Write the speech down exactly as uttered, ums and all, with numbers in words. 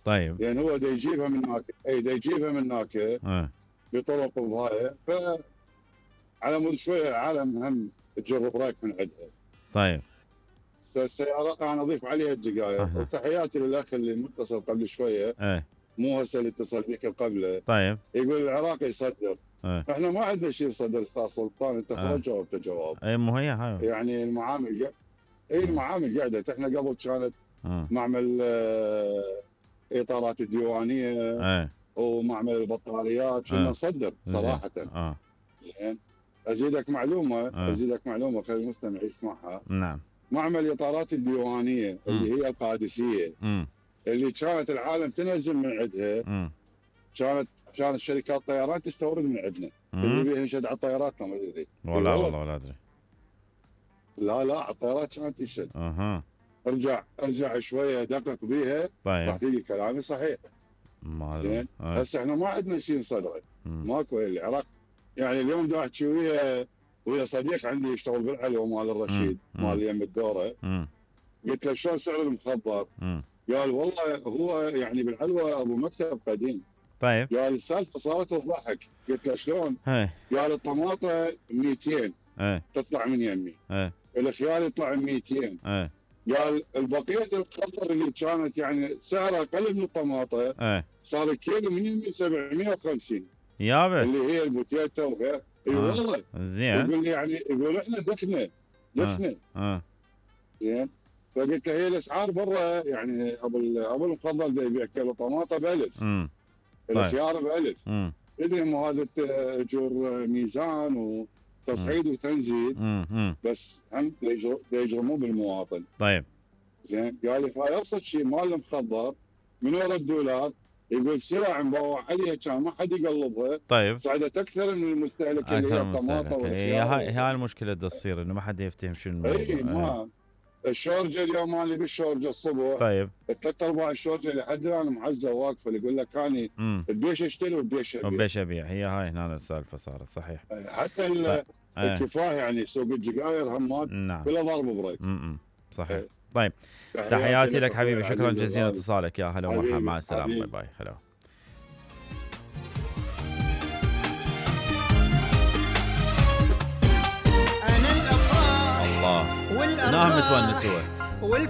طيب لان هو دا يجيبها من هناك، اي دا يجيبها من هناك اه بطرق وهاي، ف على مود شويه العالم هم تجرب رايك من عندها. طيب السيارات انا اضيف عليها الدقائق. أه. وتحياتي للاخ اللي متصل قبل شويه، ايه مو هسه اللي اتصل بك قبله، طيب يقول العراق يصدر. ايه احنا ما عندنا شيء نصدر استاذ سلطان، انت اه. خلاص جاوبت جواب. ايه مو هي هاي يعني المعامل قا... اي المعامل قاعده. احنا قبل كانت اه. معمل آه، اطارات الديوانيه ايه ومعمل البطاريات كنا اه. نصدر زين صراحه. اه زين ازيدك معلومه اه. ازيدك معلومه خلي المستمع يسمعها. نعم معمل اطارات الديوانيه مم. اللي هي القادسيه، امم اللي كانت العالم تنزل من عندها، امم كانت كانت شركات طيران تستورد من عندنا. اللي بيها ينشد على الطيارات ما ادري. والله والله ولا ادري. لا لا على الطيارات كانت تنشد. اها ارجع ارجع شويه دقق بيها راح طيب تلقي كلامي صحيح. ما زين آه. هسه احنا ما عندنا شيء نصدره، مم. ماكو. العراق يعني اليوم دا احكي ويا ويا صديق عندي يشتغل بالحلوه مال الرشيد مم. مال يم الدوره. مم. قلت له شلون سعر المخضر؟ مم. قال والله هو يعني بالحلوه ابو مكتب قديم. طيب قال السالفه صارت تضحك. قلت له شلون؟ هاي قال الطماطه مئتين ايه تطلع من يمي، ايه الخيار يطلع مئتين. ايه قال البقيه الخضر اللي كانت يعني سعرها اقل من الطماطه ايه صار الكيلو من يمي سبعمئة وخمسين، يابا اللي هي البوتيتا وغير. اي آه. والله زين يقول لي يعني يقول احنا دخنا دخنا اه زين. فقلت له هي الاسعار برا يعني ابو ابو المفضل دا يبيع كيلو طماطه ب ألف، امم طيب الخيار ب ألف. امم تدري مو هذا اجور ميزان وتصعيد وتنزيل، امم بس هم دا يجر- دا يجرمون بالمواطن. طيب زين قال لي فهاي ابسط شيء مال المخضر من ورا الدولار. يقول سلع مبوع عليها كان ما حد يقلبها، طيب صعدت اكثر من المستهلك اللي هي اكثر الطماطه مستهلك. هي والخيار. هاي هاي المشكله دا تصير انه ما حد يفتهم شنو اي الموضوع. إيه. ما الشورجه اليوم انا بالشورجه الصبح طيب ثلاث ارباع الشورجه لحد الان معزله واقفه. يقول لك اني امم بديش اشتري وبديش ابيع. وبيش ابيع. هي هاي هنا السالفه صارت صحيح. حتى ال- طيب. ايه. الكفايه يعني سوق الجقاير همات نعم بلا ضرب بريك. امم صحيح. إيه. طيب تحياتي لك أخوي حبيبي، شكرا العزيز جزيلا الغالي. اتصالك. يا هلا ومرحبا، حبيبي، مع السلامه، باي حبيبي. باي. هلا. أنا الأفراح الله والأرواح نام متونس هو. والف